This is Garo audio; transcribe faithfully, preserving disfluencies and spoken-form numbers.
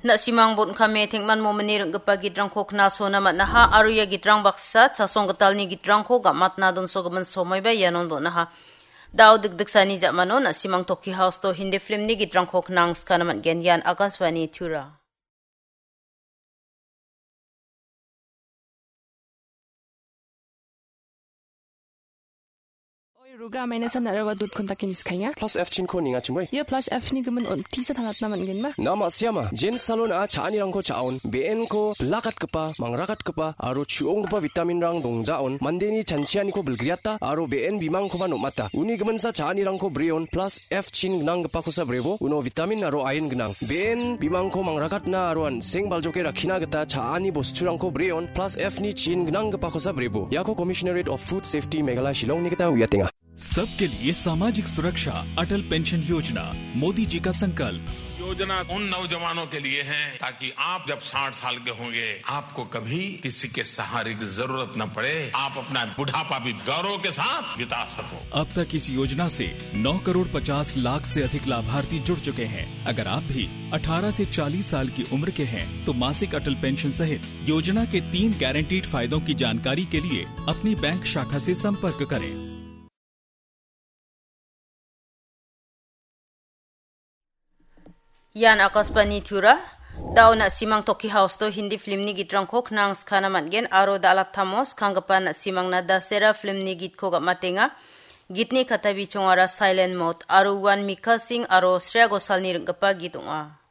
Na·simang bon·kame tengman momini ring·gipa gitrangko knasona man·aha aro ia gitrang baksa chasong gitalni gitrangko gam·atna donsogimin somoiba ianon bon·aha. Dao dikdiksani ja·mano na·simang Toki House-o Hindi film-ni gitrangko knangskana man·gen. Ian Akashvani Tura. Oi, Ruga, maina san aro wadut kontak ini skanya. Plus F chin ko ninga chimoi. Ia plus F ni gimin on tisa tangatna man gen ma. Nama siama, Jen Salon a cha·anirangko cha·on, B N ko bilakatgipa, mangrakatgipa, aro chu·onggipa vitamin rang dongjaon, mandeni chanchianiko bilgriata, aro B N bimangkoba nomata. Uni giminsa cha·anirangko breon, plus F chin gnanggipakosa brebo, uno vitamin aro iron gnang. B N bimangko mangrakatna aro an·seng baljoke rakkina gita cha·ani bosturangko breon, plus F ni chin gnanggipakosa brebo. Iako Commissionerate of Food Safety Meghalaya Shillong ni gita uiatenga. सबके लिए सामाजिक सुरक्षा, अटल पेंशन योजना, मोदी जी का संकल्प। योजना उन नौजवानों के लिए है, ताकि आप जब साठ साल के होंगे, आपको कभी किसी के सहारे की जरूरत न पड़े, आप अपना बुढ़ापा भी गौरव के साथ बिता सको। अब तक इस योजना से नौ करोड़ पचास लाख से अधिक लाभार्थी जुड़ चुके हैं। अगर आप भी अठारह से चालीस साल की उम्र के हैं, तो मासिक अटल पेंशन सहित योजना के तीन गारंटीड फायदों की जानकारी के लिए अपनी बैंक शाखा से संपर्क करें। Ian Akashvani Tura. Dao na·simang Toki House-o Hindi film-ni gitrangko knangskana man·gen aro da·alattamo skanggipa na·simangna Dasera film-ni gitko gam·atenga. Gitni katabichongara Silent Mode aro uan Mikha Singh aro Shreya Ghoshal-ni ring·gipa git ong·a.